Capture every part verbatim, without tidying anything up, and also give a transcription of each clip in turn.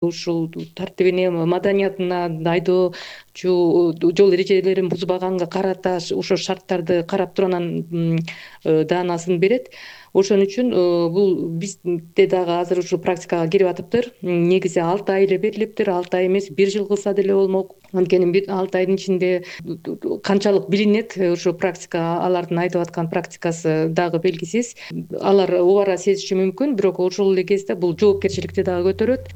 ушул тартибине, маданиятына, айдоочу жол эрежелерин бузбаганга карата ошо шарттарды карап туруп анан даанасын берет. Ошон үчүн бул бизде дагы азыр ушу практикага кирип атыптыр. Негизи алты ай эле берилиптир, алты ай эмес, бир жыл кылса деле болмок. Анткени алты айдын ичинде канчалык билинет, ошо практика, алардын айтып аткан практикасы дагы белгисиз. Алар убара сезиши мүмкүн, бирок ошол эле кезде бул жоопкерчиликти дагы көтөрөт.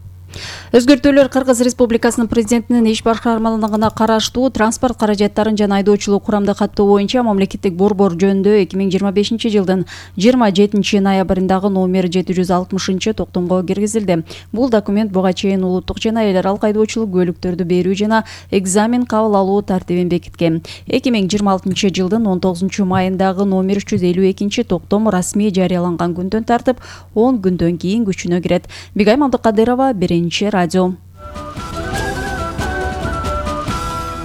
Өзгөртүүлөр Кыргыз Республикасынын президентинин иш башкармалыгына караштуу транспорт каражаттарын жана айдоочулук курамды каттоо боюнча мамлекеттик борбор жөнүндө эки миң жыйырма бешинчи жылдын жыйырма жетинчи ноябрындагы номер жети жүз алтымышынчы токтомго киргизилди. Бул документ буга чейин улуттук жана эл аралык айдоочулук көлүктөрдү берүү жана экзамен кабыл алуу тартибин бекиткен. эки миң жыйырма алтынчы жылдын он тогузунчу майындагы номер үч жүз элүү экинчи токтом расмий жарыяланган күндөн тартып он күндөн кийин күчүнө кирет. Бигайым Абдыкадырова, Биринчи радио.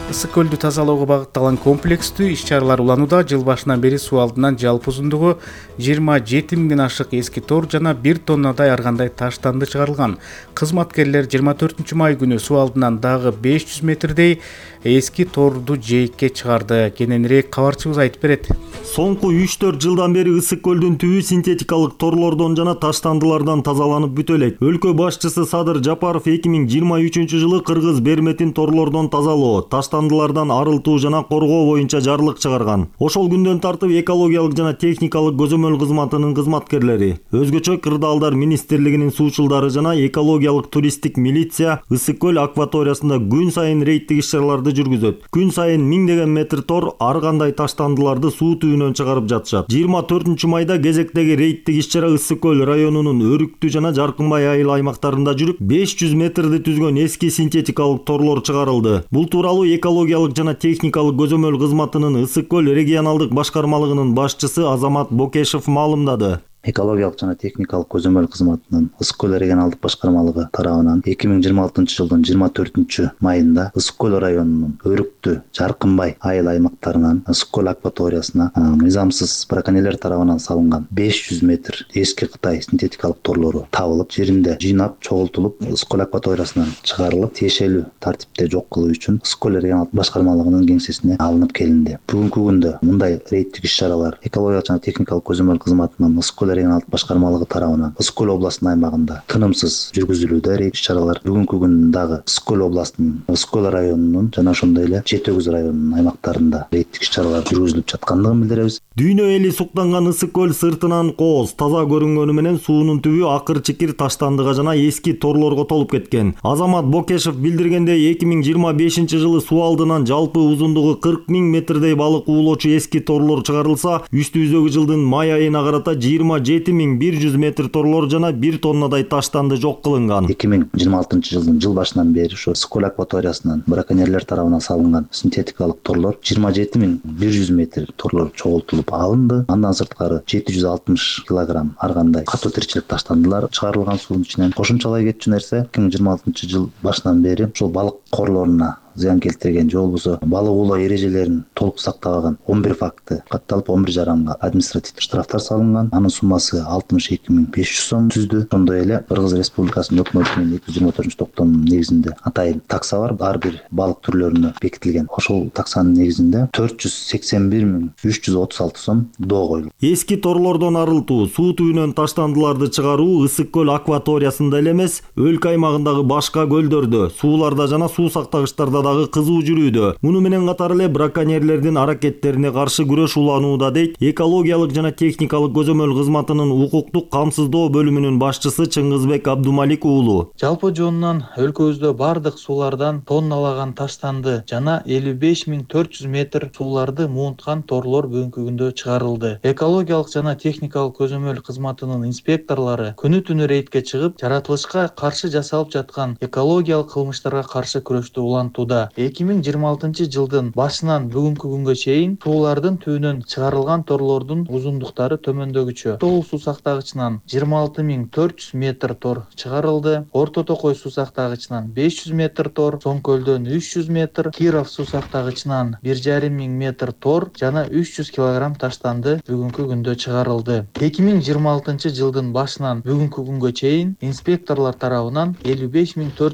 Ысык көлдү тазалоого багытталган комплекстүү иш-чаралар уланууда. Жыл башынан бери суу алдынан жалпы узундугу жыйырма жети миңден ашык эски тор жана бир тоннадай ар кандай таштанды чыгарылган. Кызматкерлер жыйырма төртүнчү май күнү суу алдынан дагы беш жүз метрдей эски торду жээкке чыгарды. Кененирээк кабарчыбыз айтып берет. Соңку үч төрт жылдан бери Ысык көлдүн түбү синтетикалык торлордон жана таштандылардан тазаланып бүтө элек. Өлкө башчысы Садыр Жапаров эки миң жыйырма үчүнчү жылы Кыргыз берметин торлордон тазалоо, таштандылардан арылтуу жана коргоо боюнча жарлык чыгарган. Ошол күндөн тартып экологиялык жана техникалык көзөмөл кызматынын кызматкерлери, өзгөчө Кырдаалдар министрлигинин суучулдары жана экологиялык туристтик милиция Ысык көл акваториясында күн сайын рейдтик иш-чараларды жүргүзөт. Күн сайын миңдеген метр тор ар кандай таштандыларды суу түбүнөн чыгарып жатышат. жыйырма төртүнчү майда кезектеги рейдтик иш-чара Ысык көл районунун Өрүктү жана Жаркынбай айыл аймактарында жүрүп, беш жүз метрди түзгөн эски синтетикалык торлор чыгарылды. Бул тууралуу экологиялык жана техникалык көзөмөл кызматынын Ысык көл регионалдык башкармалыгынын башчысы Азамат Бокешев маалымдады. Экологиялык жана техникалык көзөмөл кызматынын Ысык көл регионалдык башкармалыгы тарабынан эки миң жыйырма алтынчы жылдын жыйырма төртүнчү майында Ысык көл районунун Өрүктү, Жаркынбай айыл аймактарынан Ысык көл акваториясына мыйзамсыз браконьерлер тарабынан салынган беш жүз метр эски Кытай синтетикалык торлору табылып, жеринде жыйнап, чогултулуп, Ысык көл акваториясынан чыгарылып, тиешелүү тартипте жок кылуу үчүн Ысык көл регионалдык башкармалыгынын кеңсесине алынып келинди. Бүгүнкү күндө мындай рейдтик иш-чаралар экологиялык жана техникалык көзөмөл кызматынын Ысык көл регионалдык башкармалыгы тарабынан Ысык көл областынын аймагында тынымсыз жүргүзүлүүдө. Рейд иш-чаралар бүгүнкү күндө дагы Ысык көл областынын Ысык көл районунун жана ошондой эле Жети Өгүз районунун аймактарында рейдтик иш-чаралар жүргүзүлүп жаткандыгын билдиребиз. Дүйнө эли суктанган Ысык көл сыртынан кооз, таза көрүнгөнү менен суунун түбү акыр-чикир таштандыга жана эски торлорго толуп кеткен. Азамат Бокешев билдиргендей, эки миң жыйырма бешинчи жылы суу алдынан жалпы узундугу кырк миң метрдей балык уулоочу эски торлор чыгарылса, үстүбүздөгү жылдын май айына карата жыйырма жети миң бир жүз метр торлор жана бир тоннадай таштанды жок кылынган. эки миң жыйырма алтынчы жылдын жыл башынан бери ушу Ысык көл акваториясынан браконьерлер тарабынан салынган синтетикалык торлор жыйырма жети миң бир жүз метр торлор чогултулуп алынды. Андан сырткары жети жүз алтымыш килограмм ар кандай катуу тиричилик таштандылар чыгарылган суунун ичинен. Кошумчалай кетчү нерсе, эки миң жыйырма алтынчы жыл башынан бери ушул балык корлоруна зыян келтирген же болбосо балык оолоо эрежелерин толук сактабаган он бир факты катталып, он бир жаранга административдик штрафтар салынган. Анын суммасы алтымыш эки миң беш жүз сом түздү. Ошондой эле Кыргыз Республикасынын өкмөтүнүн эки жүз жыйырма төртүнчү токтомунун негизинде атайын такса бар, ар бир балык түрлөрүнө бекитилген. Ошол таксанын негизинде төрт жүз сексен бир миң үч жүз отуз алты сом доо коюлган. Эски торлордон арылтуу, суу түбүнөн таштандыларды чыгаруу Ысык көл акваториясында эле эмес, өлкө аймагындагы башка көлдөрдө, сууларда жана суу сактагычтарда дагы кызуу жүрүүдө. Муну менен катар эле браконьерлердин аракеттерине каршы күрөш уланууда, дейт экологиялык жана техникалык көзөмөл кызматынын укуктук камсыздоо бөлүмүнүн башчысы Чыңгызбек Абдумалик уулу. Жалпы жонунан өлкөбүздө бардык суулардан тонналаган таштанды жана элүү беш миң төрт жүз метр сууларды муунткан торлор бүгүнкү күндө чыгарылды. Экологиялык жана техникалык көзөмөл кызматынын инспекторлору күнү түнү рейдке чыгып, жаратылышка каршы жасалып жаткан экологиялык кылмыштарга каршы күрөштү улантууда. чыгарылууда. эки миң жыйырма алтынчы жылдын башынан бүгүнкү күнгө чейин суулардын түбүнөн чыгарылган торлордун узундуктары төмөндөгүчө: Тоол суу сактагычынан жыйырма алты миң төрт жүз метр тор чыгарылды, Орто Токой суу сактагычынан беш жүз метр тор, Соң көлдөн үч жүз метр, Киров суу сактагычынан бир жарым миң метр тор жана үч жүз килограмм таштанды бүгүнкү күндө чыгарылды. эки миң жыйырма алтынчы жылдын башынан бүгүнкү күнгө чейин инспекторлор тарабынан элүү беш миң төрт